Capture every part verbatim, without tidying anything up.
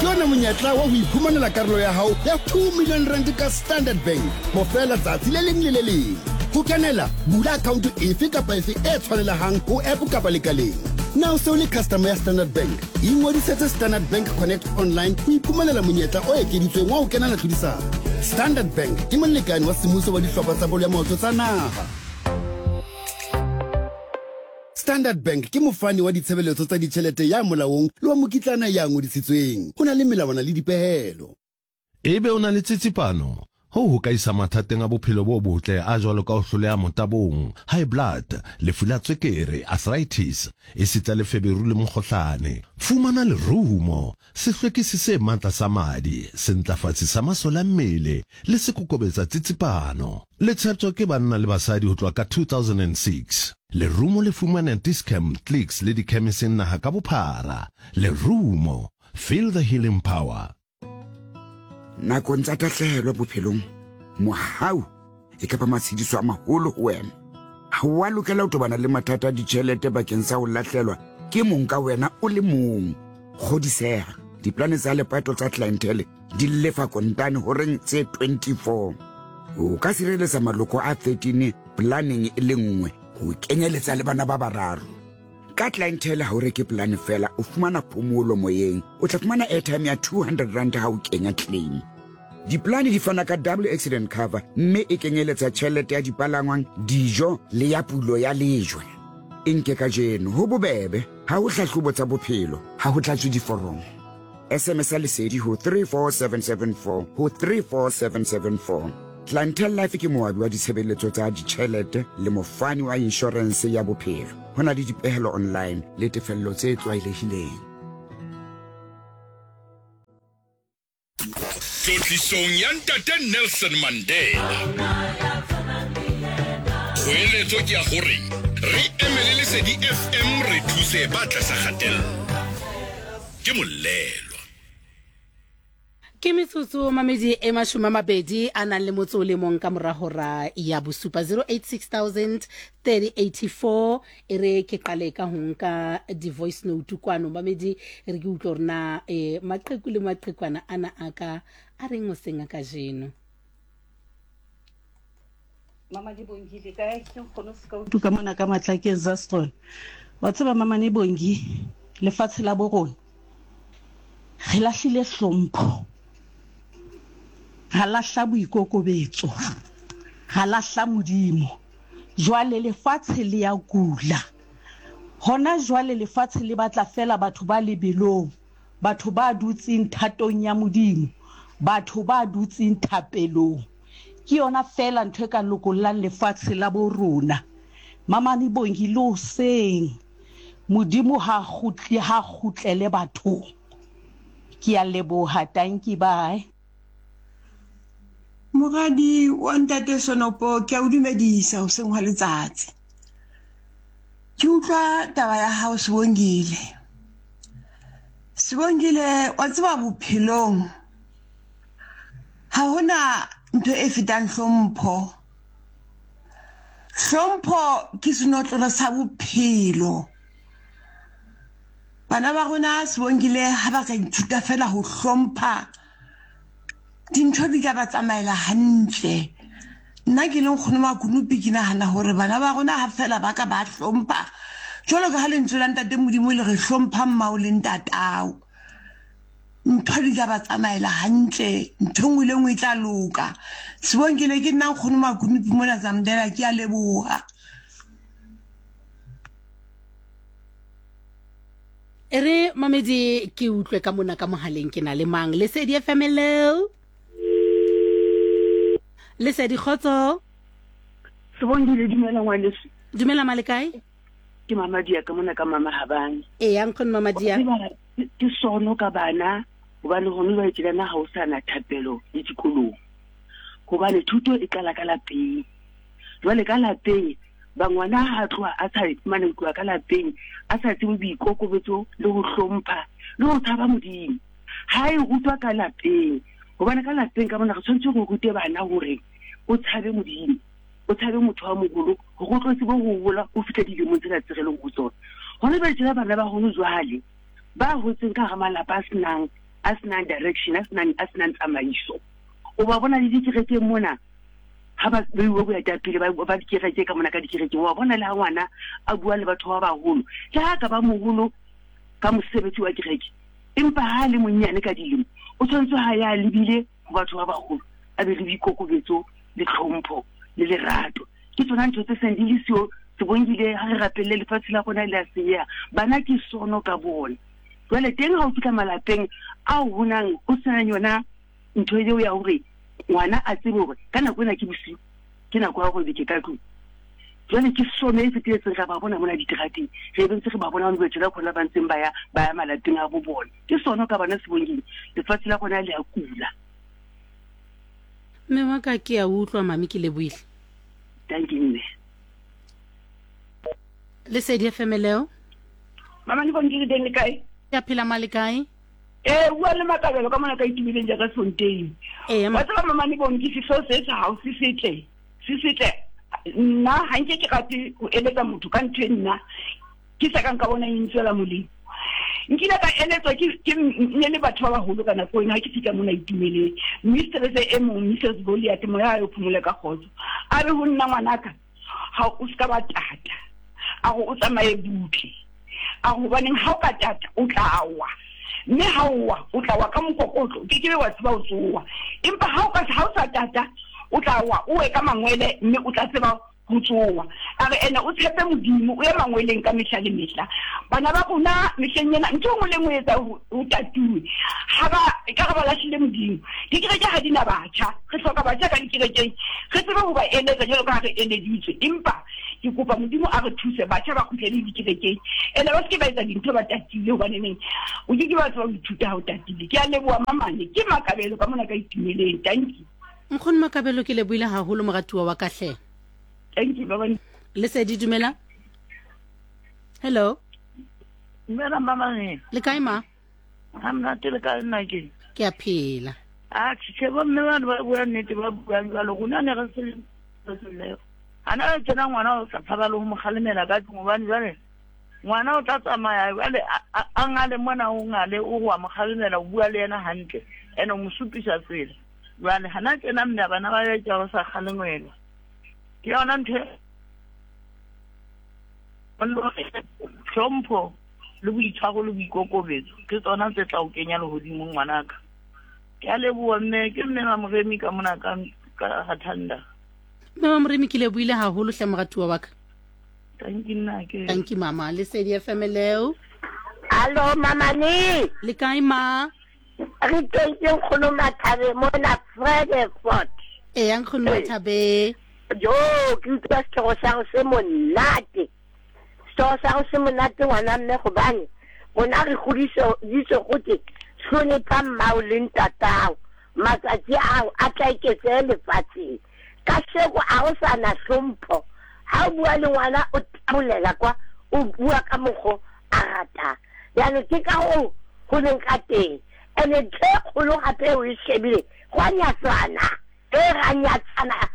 Ke ona monyetla wa ho iphumanela karolo ya hao ya two million rand ka Standard Bank bofela tsatsi le leng le le leng. Ho kenela, bula account efe kapa efe e tshwanelehang ho app kapa lekaleng. Na o se o le customer ya Standard Bank? Ingodisetse Standard Bank Connect online ho iphumanela monyetla o ekeditsweng wa ho kenela tlhodisano. Standard Bank ke molekane wa semmuso wa dihlopha tsa bolo ya maoto tsa naha. Standard Bank ke mofani wa ditshebeletso tsa ditjhelete ya molaong le wa mokitlana ya ngodisitsweng. Ho na le melawana le dipehelo. Ebe o na le tsitsipano? Hoo ho ka isa mathateng a bophelo bo botle a jwalo ka ho hloleha motabong, high blood, lefu la tswekere, arthritis, esita le feberu le mokgohlane. Fumana lerumo, sehlwekisi se matla sa madi, sentlafatsi sa masole a mmele le sekokobetsa tsitsipano. Le tsheptjwa ke banna le basadi ho tloha ka two thousand and six. Lerumo le fumanea Dis-Chem, Clicks le dikhemiseng naha ka bophara. Lerumo, feel the healing power. Nakong tsa tahlehelo bophelong, mohau e ka ba matshediso a maholo ho wena. Ha o a lokela ho tobana le mathata a ditjhelete bakeng sa ho lahlelwa ke mong ka wena o le mong. Kgodiseha, diplane tsa lepato tsa Clientele di lefa kontane horeng tse twenty-four. O ka sireletsa maloko a thirteen planeng e le nngwe ho kenyeletsa le bana ba bararo. Ka Clientele ha o reke plan fela, o fumana phomolo moyeng. O tla fumana airtime ya two hundred rand ha o kenya claim. Diplane di fana ka double accident cover mme e kenyeletsa tjhelete ya dipalangwang, dijo le ya pulo ya lejwe. E nke kajeno ho bobebe, ha ho hlahlobo tsa bophelo, ha ho tlatswe diforomo. S M S ya lesedi ho three four seven seven four ho three four seven seven four. Clientele Life ke moabi wa ditshebeletso tsa ditjhelete le mofani wa inshorense ya bophelo. Ho na le dipehelo online le tefello tse tlwaelehileng. Tlotlisong ya Ntate Nelson Mandela. Kgoeletso ke ya hore re emele Lesedi F M re thuse ba tlasa kgatello. Ke molelwa. Ke metsotso mamedi e mashome a mabedi a nang le motso o le mong ka mora hora ya bosupa zero eight six thousand thirty eighty four. E re ke qale ka ho nka di-voice note kwano mamedi, re ke utlwe hore na, eh, maqheku le maqhekwana ana a ka a reng hoseng a kajeno. Mama di Bongi le kae? Ke nkgono se ka utlwa ka mona ka Matlakeng Zastron. Wa tseba mama ne Bongi, lefatshe la bo rona re lahlile hlompho, ra lahla boikokobetso, ra lahla Modimo. Jwale lefatshe le ya kula. Hona jwale lefatshe le batla fela batho ba lebelong, batho ba dutseng thatong ya Modimo, batho ba dutseng thapelong. Ke yona fela ntho e ka lokollang lefatshe la bo rona. Mama ne Bongi le hoseng, Modimo ha kgutle, ha kgutlele bathong. Ke a leboha, thank you, bye. Moradi wa Ntate Sonopo, ke a o dumedisa hoseng hwa letsatsi. Ke utlwa taba ya hao Sibongile. Sibongile, wa tseba bophelong ha hona ntho e fetang hlompho. Hlompho ke senotlolo sa bophelo. Bana ba rona Sibongile ha ba ka ithuta fela ho hlompha, dintho di ka ba tsamaela hantle. Nna ke le nkgono Makunupi ke nahana hore bana ba rona ha fela ba ka ba hlompha, jwalo ka ha lentswe la Ntate Modimo le re hlompha mmao le ntatao, ntho di ka ba tsamaela hantle, ntho e nngwe le nngwe e tla loka. Sibongile, ke nna nkgono Makunupi mona Zamdela, ke a leboha. E re mamedi ke utlwe ka mona ka mohaleng ke na le mang? Lesedi F M, hello. Lesedi, kgotso. Sibongile, dumela ngwaneso. Dumela ma le kae? Ke Mama Dia ka mona ka Mama Habane. Ee, ya nkgono Mama Dia. Ke sono ka bana hobane hona jwale tjena ha ho sana thapelo le dikolong. Hobane thuto e qala ka lapeng. Jwale ka lapeng ba ngwana ha tloha a sa mane tloha ka lapeng a sa tsebe boikokobetso le ho hlompha le ho tshaba Modimo. Ha e rutwa ka lapeng, hobane ka lapeng ka mona re tshwanetse re rute bana hore o tshabe Modimo, o tshabe motho wa moholo, hore o tlo tsebe ho hola o fihle dilemong tsena tse re leng ho tsona. Hona jwale tjena bana ba hona jwale ba hotseng ka hara malapa a senang a senang direction, a senang a senang tsamaiso. O ba bona le dikerekeng mona ha ba beiwe boetapele ba ba dikereke ka mona ka dikerekeng, wa bona le ha ngwana a bua le batho ba baholo, le ha ka ba moholo ka mosebetsi wa kereke, empa ha le monyane ka dilemo o tshwanetse ha ya lebile ho batho ba baholo, a be le boikokobetso le tlhompho le lerato. Ke tsona ntho tse seng di le siyo. Sibongile, ha re rapelle lefatshe la rona le a senyeha, bana ke sono ka bona. Jwale teng ha o fihla malapeng ao ho nang ho senang yona ntho eo ya hore ngwana a tsebe hore ka nako ena ke bosiu, ke nako ya hore ke ka tlung. Jwale ke sono e feteletseng, ra ba bona mona diterateng, re be ntse re ba bona hona jwale khona ba ntseng ba ya ba ya malapeng a bo bona. Ke sono ka bana Sibongile, lefatshe la rona le a kula. Mme wa ka ke a utlwa mami, ke lebohile. Thank you mme. Lesedi F M leo. Mama ni Bongile teng le kae? Ya phela male kae? Eh bua le Makabelo ka mona ka itumileng jaaka Fontein. Eh wa tseba mama ni Bongi sehloho se sa hao se setle. Se setle. Nna ha nke ke rate ho eletsa motho ka ntho e nna ke sa kang ka bona e ntswela molemo. Nkile ka eletswa ke ke ne le batho ba baholo ka nako ena ha ke fihla mona itumeleng. Mistress e mong Missus Goliath moya a yo phomole ka kgotso. A re ho nna ngwanaka ha o ska ba tata. A go o tsamaye butle. A hobaneng ha o ka tata o tla wa. Mme ha o wa o tla wa ka mokokotlo, ke ke be wa tseba o tsoa. Empa ha o ka ha o sa tata o tla wa o we ka mangwele mme o tla tseba ho tsoa. A re ena o tshepe Modimo o ye mangweleng ka mehla le mehla. Bana ba rona mehleng ena ntho e nngwe le nngwe e etsa ho tatuwe. Ha ba e ka re ba lahlile Modimo. Dikereke ha di na batjha. Re hloka batjha ka dikerekeng. Re tsebe ho ba eletsa jwalo ka ha re eleditswe. Empa ke kopa Modimo a re thuse batjha ba kgutlele dikerekeng. Ene ba se ke ba etsa dintho ba tatile hobane neng o ke ke ba tseba ho ithuta ha o tatile. Ke a leboha mamane, ke Makabelo ka mona ka itumeleng. Thank you. Nkgono Makabelo, ke lebohile haholo moratuwa wa ka hle. Thank you baba. Lesedi dumela. Hello. Dumela mama. Le kae ma? Ha monate le kae nna ke? Ke a phela. Ah, tjhe bo mme bana ba bua nnete ba buang jwalo rona ne re se le. Ana tsena ngwana o sa tshaba le ho mo kgalemela ka tlung hobane jwale ngwana o tla tsamaya jwale a ngale mona o ngale o wa mo kgalemela o bua le yena hantle ene o mo supisa tsela. Jwale hana tsena mme bana ba ya ba sa kgalengwela. Ke yona ntho hlompho le boitshwaro le boikokobetso ke tsona tse tla o kenya lehodimong ngwanaka. Ke a leboha mme, ke mme Mamoremi ka mona ka ka Hathanda. Mme Mamoremi ke lebohile haholo hle moratuwa wa ka. Thank you nna ke. Thank you mama. Lesedi F M leo. Allo mama ni. Le kae ma? Re teng ke nkgono Mathabe mona Fredefort. Eh nkgono Mathabe. Jo ke utlwa setlhogo sa go se monate. Setlhogo sa go se monate ngwana mme gobane rona re godisitswe gote hlonepha mmao le ntatao, matsatsi ao a tla eketsehe lefatsheng. Ka sheko a ho sa na hlompho. Ha o bua le ngwana o tabolela kwa, o bua ka mokgo a ratang. Jaanong ke ka hoo ho leng ka teng. Ene ntho e kgolo gape o e shebile, go a nyatsana. E ra nyatsana.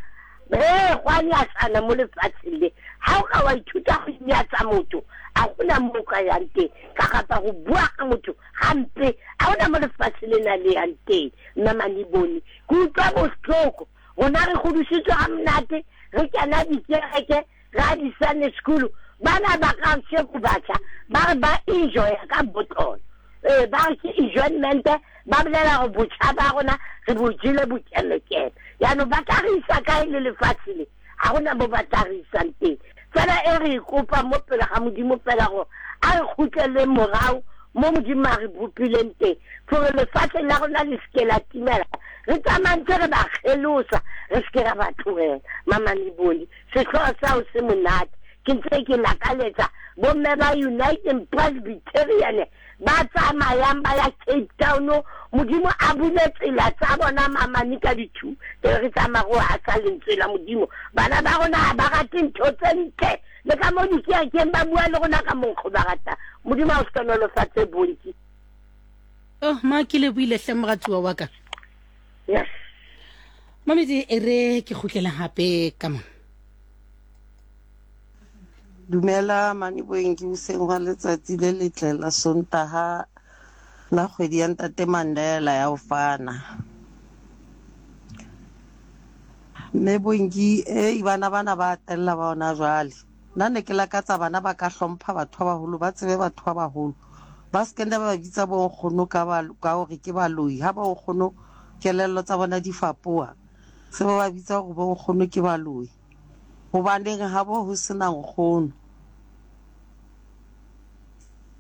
E go a nyatsana mo lefatsheng le. Ha o ka wa ithuta go nyatsa motho, a gona mo ka yang teng. Ka gapa go bua ka motho hampe, a gona mo lefatshe lena le yang teng. Nna Manibone ke utlwa bohloko. Rona re godisitswe ha monate, re kena dikereke, ra di Sunday school. Bana ba ka sheko batjha ba re ba enjoy ka botlolo. Eh ba re ke enjoyment, ba bolela gore botjha ba rona re bo jele bokelekele. Jaanong ba tla re isa kae le lefatshe le? Ha hona mo ba tla re isang teng. Fela e re kopa mo pele ga Modimo fela gore a re kgutlele morao mo Modimo a re bopileng teng, gore lefatshe la rona le seke la timela. Re tsamaya re ba kgelosa, re seke ra ba tlohela. Mama Nibone, sehlooho sa ho se monate. Ke ntse ke lakaletsa bomme ba United Presbyterian ba tsamayang ba ya Cape Town, Modimo a bule tsela tsa bona mamane ka dithu, re tsamaya go hasa lentswe la Modimo. Bana ba rona ha ba rate ntho tse ntle, le ka mo dikerekeng ba bua le rona ka monkgo ba rata. Modimo a o hlohonolofatse bontsi. Oh ma ke lebohile hle moratuwa wa ka. Yes. Mamedi e re ke kgutlela hape ka mona. Dumela Maniboeng, ke hoseng hwa letsatsi le letle la Sontaha. La kgwedi ya Ntate Mandela ya ho fana. Mme Bongi, eh bana bana ba tella ba ona jwale. Nna ne ke lakatsa bana ba ka hlompha batho ba baholo, ba tsebe batho ba baholo. Ba se ke ba bitsa bo nkgono ka ba ka hore ke baloi. Ha ba nkgono kelello tsa bona di fapoha. Se ba ba bitsa hore bo nkgono ke baloi. Hobaneng ha bo ho sena nkgono.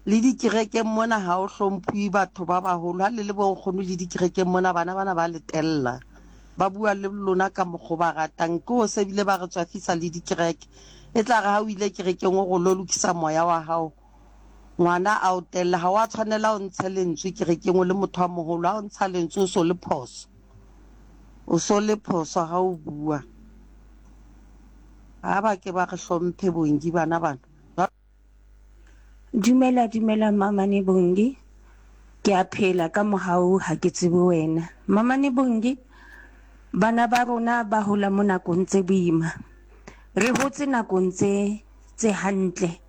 Le dikerekeng mona ha o hlomphuwe batho ba baholo. Ha le le bo nkgono le dikerekeng mona bana bana ba le tella. Ba bua le lona ka mokgwa ba ratang. Ke ho se bile ba re tswafisa le dikereke. E tla re ha o ile kerekeng o go lo lokisa moya wa hao. Ngwana a o tella, ha wa tshwanela o ntshe lentswe kerekeng o le motho wa moholo. Ha o ntsha lentswe o so le phoso. O so le phoso ha o bua. Ha ba ke ba re hlomphe Bongi bana bana. Dumela dumela Mamane Bongi. Ke a phela ka mohau ha ke tsebe wena. Mamane Bongi, bana ba rona ba hola mo nakong tse boima. Re hotse nakong tse tse hantle.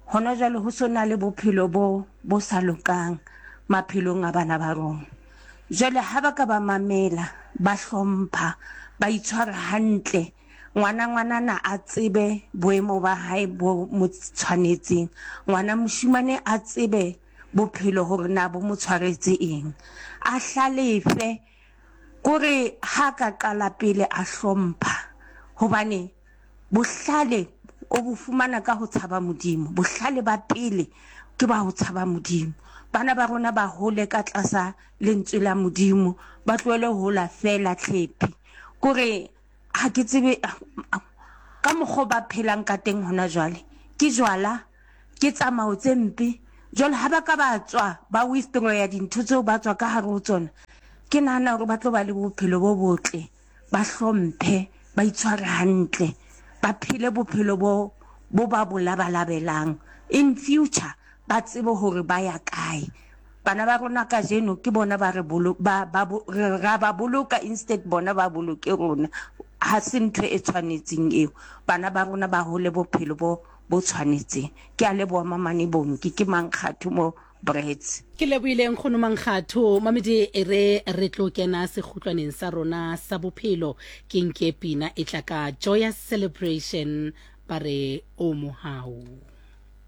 Hona jwale ho sona le bophelo bo bo sa lokang maphelong a bana ba rona. Jwale ha ba ka ba mamela, ba hlompha, ba itshwara hantle, ngwana ngwanana a tsebe boemo ba hae bo mo tshwanetseng, ngwana moshimane a tsebe bophelo hore na bo mo tshwaretse eng, a hlalefe kore ha ka qala pele a hlompha, hobane bohlale o bo fumana ka ho tshaba Modimo. Bohlale ba pele ke ba ho tshaba Modimo. Bana ba rona ba hole ka tlasa lentswe la Modimo, ba tlohele ho hola fela tlhepi. Kore ha ke tsebe ka mokgwa ba phelang ka teng hona jwale, ke jwala, ke tsamao tse mpe. Jwale ha ba ka ba tswa ba withdraw ya dintho tseo ba tswa ka hare ho tsona, ke nahana hore ba tlo ba le bophelo bo botle, ba hlomphe, ba itshware hantle, ba phele bophelo bo bo ba bo labalabelang. In future ba tsebe hore ba ya kae. Bana ba rona kajeno ke bona ba re bolo ba ba ra ba boloka, instead bona ba boloke rona. Ha se ntho e tshwanetseng eo. Bana ba rona ba hole bophelo bo bo tshwanetseng. Ke a leboha Mamane Bongi, ke Mankgatho mo Brits. Ke lebohile nkgono Mankgatho. Mamedi e re re tlo kena sekgutlwaneng sa rona sa bophelo. Ke nke pina e tla ka Joyous Celebration ba re o mohau.